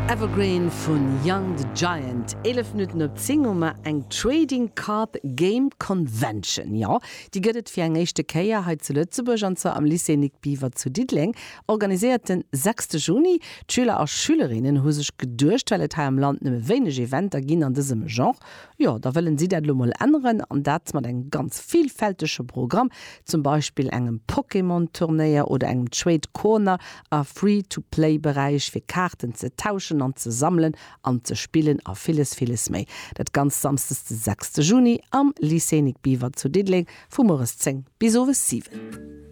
Evergreen vun Young the Giant. 11 Minutten op 10 hu mer eng Trading Card Game Convention. Jo, déi gëtt et fir eng éischte Kéier hei zu Lëtzebuerg an zwar am Lycée Nic Biever zu Diddeleng, organiséiert den sechste Juni. D'Schüler a Schülerinnen hu sech geduecht, well et hei am Land nëmme wéineg Eventer ginn an dësem Genre, Jo, da wëllen si dat elo mol änneren an dat mat engem ganz villfältege Programm, zum Beispill engem Pokémon-Turnéier oder engem Trade Corner a Free-to-Play-Beräich fir Kaarten ze tauschen an ze sammelen an ze spillen a villes, villes méi. Dat Ganzt samsdes de sechste Juni am Lycée Nic Biever zu Diddeleng vu mueres 10 bis owes 7.